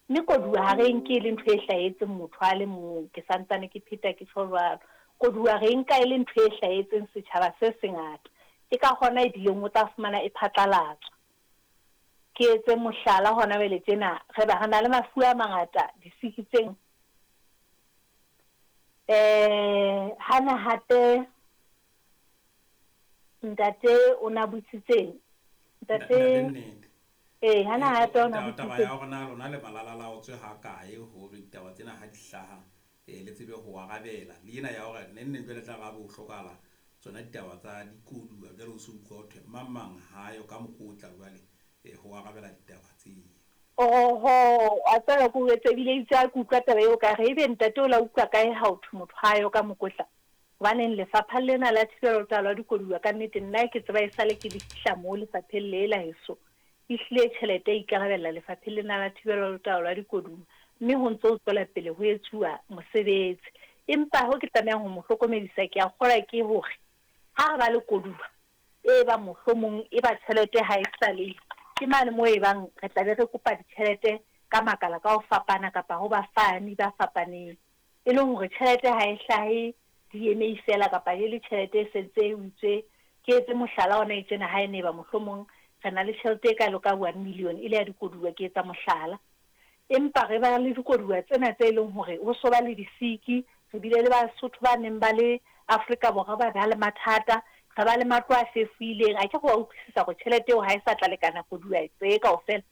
Mme koduwa ha re e nke e le ntho e hlahetseng motho a le mong, ke sa ntsane ke pheta ke tjho jwalo. Koduwa re e nka e le ntho e hlahetseng setjhaba se sengata. Ke ka hona e bileng o tla fumana e phatlalatswa. Ke etse mohlala hona jwale tjena, re ba re na le mafu a mangata, disiki tse. Eh, hana hape ntate o na botsitseng? Ntate. Nnete. Ee, hana hape o na Taba ya botsitseng? hore na lona le malalalaotswe ha kae hore ditaba tsena ha di hlaha le tsebe ho arabela. Le ena ya hore neng neng jwale tla re ha bo hlokahala tsona ditaba tsa dikoduwa jwale o se utlwa ho thwe mang mang ha yo ka mokotla jwale ho arabela ditaba tseo. Oho, wa tseba ke o jwetse ebile itse ha ke utlwa taba eo ka re ebe ntate o la utlwa kae ha ho thwe motho ha yo ka mokotla? Hobaneng lefapha lena la thibelo le taolo ya dikoduwa ka nnete nna ke tseba esale ke le fihla moo lefapheng le la heso ehlile tjhelete e ikarabella lefapheng lena la thibelo le taolo ya dikoduwa mme ho ntse ho tswela pele ho etsuwa mosebetsi. Empa ho ke tlamehang ho mo hlokomedisa ke a kgolwa ke hore ha re ba le koduwa e bang mohlomong e ba tjhelete ha e sa le ke mane moo e bang re tla be re kopa ditjhelete ka makala ka ho fapana kapa ho bafani ba fapaneng. E leng hore tjhelete ha e hlahe DMA feela kapa e le tjhelete e sentse e utswe. Ke etse mohlala hona e tjena ha e ne eba mohlomong re na le tjhelete e kalo ka one million e le ya dikoduwa ke etsa mohlala. Empa re ba le dikoduwa tsena tse leng hore ho so ba le disiki, re bile le Basotho ba neng ba le Afrika Borwa ba ba le mathata, re ba le matlo a fefoileng. Akere wa utlwisisa hore tjhelete eo ha e sa tla lekana koduwa tse kaofela.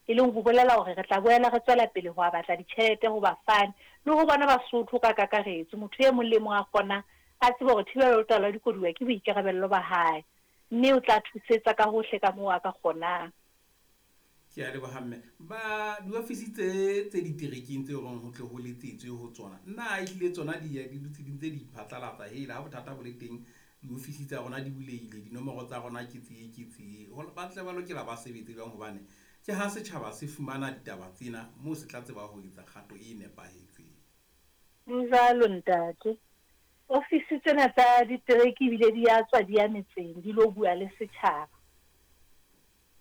E leng ho bolela hore re tla boela re tswela pele ho a batla ditjhelete ho bafani le ho bona Basotho ka kakaretso. Motho e mong le e mong a kgonang a tsebe hore thibelo le taolo ya dikoduwa ke boikarabello ba hae mme o tla thusetsa ka hohle ka moo a ka kgonang. Ke a leboha mme. Ba diofisi tse tse diterekeng tse reng ho tle ho letsetswe ho tsona, na ehlile tsona di ya di dutse di ntse di iphatlalatsa hela ha bothata bo le teng diofisi tsa rona di bulehile, dinomoro tsa rona ke tse ke tse. Ba tle ba lokela ba sebetse jwang hobane ke ha setjhaba se fumana ditaba tsena moo se tla tseba ho etsa kgato e nepahetseng. Ho jwalo ntate. Ofisi tsena tsa ditereke ebile di ya tswa di ya metseng di lo bua le setjhaba.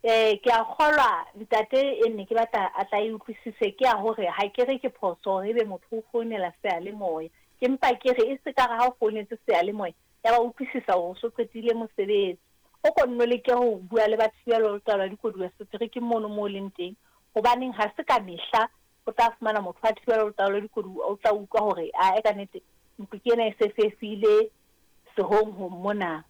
Ee, ke a kgolwa ntate e ne ke batla a tla e utlwisise ke ya hore ha ke re ke phoso hore ebe motho o founela seyalemoya. Ke mpa ke re e se ka re ha o founetse seyalemoya ya ba utlwisisa hore o so qetile mosebetsi. O ko nno leke ho bua le ba thibelo le taolo ya dikoduwa seterekeng mono moo o leng teng. Hobaneng ha se ka mehla o tla fumana motho wa thibelo le taolo ya dikoduwa o tla utlwa hore ae ka nnete ntlo ke ena e se fefile sehonghong mona.